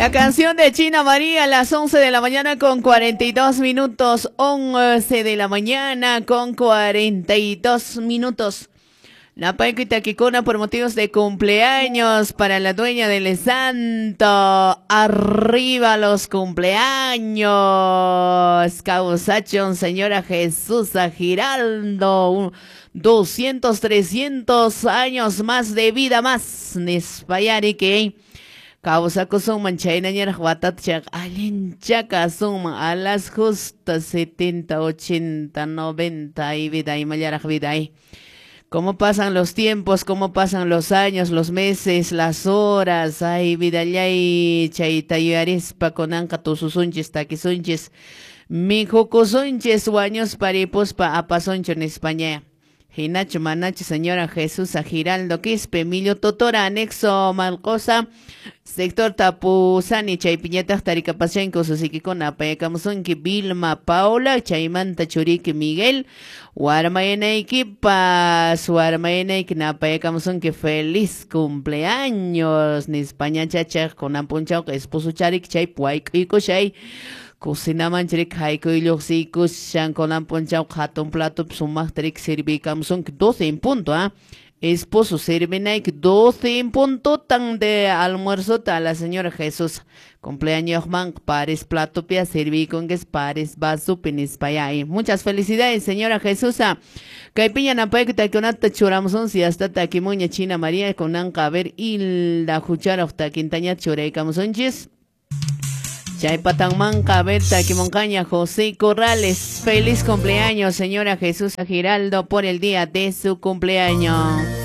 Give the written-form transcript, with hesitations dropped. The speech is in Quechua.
La canción de China María a las 11 de la mañana con 42 minutos. 11 de la mañana con 42 minutos. Napayku takikuna por motivos de cumpleaños para la dueña del santo. Arriba los cumpleaños. Causachon, señora Jesús Giraldo. 200, 300 años más de vida más. Nispayari que. Kawsakusunman chaynañaraq watata chayqa allincha kasunman a las justas 70, 80, 90 y vida imallaraq vida ay. Cómo pasan los tiempos, cómo pasan los años, los meses, las horas. Ay, vidallay, chayta yuyarispa kunanqa tususunchis, takisunchis, mikhukusunchis, wañuspa ripuspa apasunchu nispaña. Hinachu manachu señora Jesús Giraldo Quispe, Emilio Totora, anexo Malcosa, sector Tapuzani, chaypiñataq tarikapashanki ususikikuna apayakamusunki Vilma Paula, chaymanta churiki Miguel, warmayanaykipas, warmayanayki napayakamusunki feliz cumpleaños, nispaña chachaq kunan punchawqa esposo charik chaypi wayk'uykushay. Cocinaman chirik haykuy lluqsiykushan kunan punchawqa hatun platopi sumaqta riki servikamusunki 12 en punto, ¿ah? Esposo servinayki 12 en puntotan de almuerzota a la señora Jesús. Cumpleaños man pares platopia servikunki pares vasopi nispayay. Muchas felicidades, señora Jesús. Kaypiña napayku takikunata churamusunsi hasta takimuña China María kunanqa a ver Hilda Hucharoq takintaña churaykamusunchis. Chaypatanmanqa a ver takimunqaña José Corrales. Feliz cumpleaños, señora Jesús Giraldo, por el día de su cumpleaños.